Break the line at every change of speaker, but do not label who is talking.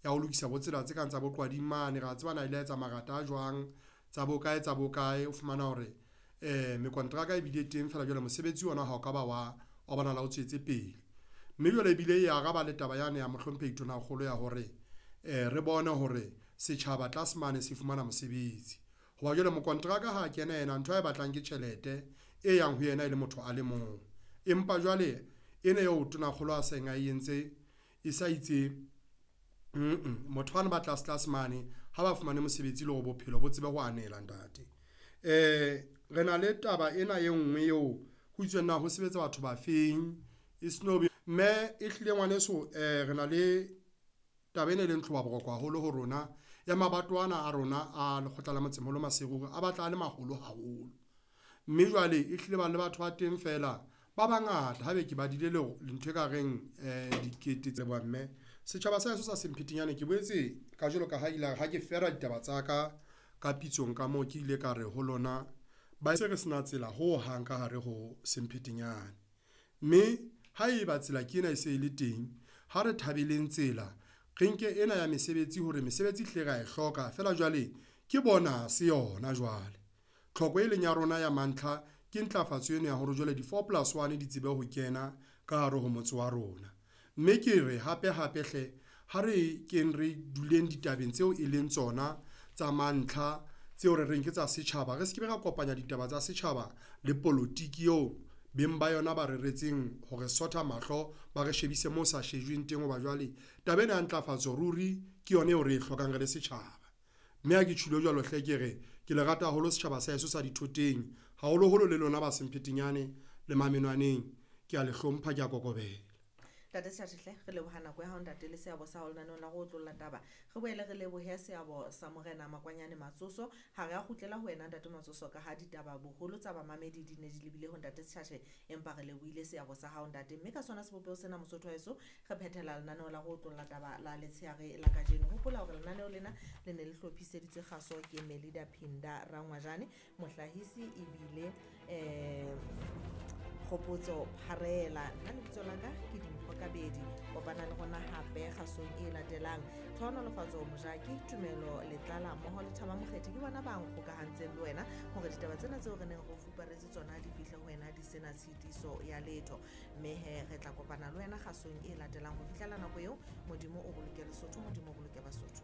ya ho lokisa bo tsela tse kang tsa bo Qwading mane, ra tseba na ile a etsa marata a jwang tsa bo kae tsa bo kae. O fumana hore mekonteraka e bile teng feela jwale mosebetsi ona ha o ka ba wa bonahala o tswetse pele, mme jwale ebile e araba le taba yane ya Mohlomphehi Tonakgolo ya hore re bone hore setjhaba tlase mane se fumana mosebetsi. Hoba jwale mokonteraka ha kena yena ntho ae batlang ke tjhelete e yang ho yena e le motho a le mong, empa jwale ena eo Tonakgolo a seng a entse e sa itse motho bano ba tlase tlase mane ha ba fumane mosebetsi le hore bophelo bo tsebe ho anela ntate. Re na le taba ena e ngwe eo ho itsweng na ho sebetsa batho ba feng e mme ehlile ngwaneso re na le taba ena e leng tlhoba boroko haholo ho rona ya mabatowa ana a rona a lekgotla la Motsemoholo Maseru a batla a le maholo haholo, mme jwale e hlile ba le batho ba teng feela ba bangata haebe ke badile ntho e ka reng dikete tse leboha mme. Setjhaba sa heso sa Semphetinyane ke boetse ka jwalo ka ha ile ya re ha ke fera ditaba tsa ka ka pitsong ka moo, ke ile ka re ho lona ba se re sena tsela ho hang ka hare ho Semphetinyane, mme haeba tsela ke ena e se e le teng, ha re thabeleng tsela re nke ena ya mesebetsi hore mesebetsi ehlile rea e hloka feela jwale ke bonus yona jwale. Tlhoko e leng ya rona ya mantlha ke ntlafatso ena ya hore jwale di-four plus one di tsebe ho kena ka hare ho motse wa rona, mme ke re hape hape hle ha re keng re duleng ditabeng tseo e leng tsona tsa mantlha tseo re reng ke tsa setjhaba, re se ke be ra kopanya ditaba tsa setjhaba le polotiki eo beng ba yona ba reretseng hore sotha mahlo, ba re shebise moo sa shejweng teng hoba jwale taba ena ya ntlafatso ruri ke yona eo re e hlokang re le setjhaba. Mme ha ke tjholo jwalo hle ke re ke le rata haholo setjhaba sa heso sa Dithoteng, haholoholo le lona ba Semphetinyane le Mamenwaneng, kea le hlompha, kea kokobela.
Ntate Sejate hle, re leboha nako ya hao ntate le seabo sa hao lenaneong la go otlolla taba. Re boele re lebohe seabo sa Morena Makwanyane Matsoso. Ha re a kgutlela ho wena ntate Matsoso ka ha ditaba boholo tsa bamamedi di ne di lebile ho ntate Sejate, empa re lebohile seabo sa hao ntate. Mme ka sona sebopeho sena Mosotho wa heso re phethela lenaneo la go otlolla taba la letsheare la kajeno. Hopola hore lenaneo lena le ne le hlophiseditswe kgaso ke Melida Phinda Rangwajane, mohlahisi ebile Kgopotso Pharela. Nna lebitso la ka ke Dimpho Kabedi. Kopana le rona hape kgasong e latelang. Tlhohonolofatso Mojaki, Tumelo Letlala mmoho le Thaba Mokgethi ke bona ba nkgokahantseng le wena hore ditaba tsena tseo re neng re o fuparetse tsona di fihle ho wena di sena tshitiso ya letho. Mme he re tla kopana le wena kgasong e latelang. Ho fihlela nako eo, Modimo o boloke Lesotho, Modimo o boloke Basotho.